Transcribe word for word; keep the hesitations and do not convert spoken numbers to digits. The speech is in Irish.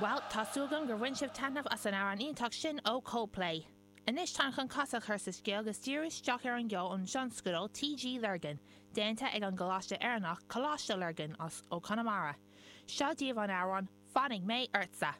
Well, tá súil agam gur bhain sibh taitneamh as an amhrán iontach sin ó Coldplay. Anois táim chun casadh chur sa scéal agus díriú isteach ar an gceol ón tionscadal TG Lurgan, déanta ag an gColáiste Éireannach Coláiste Lurgan as ó Conamara. Seo daoibh an amhrán Fanfaidh mé ortsa.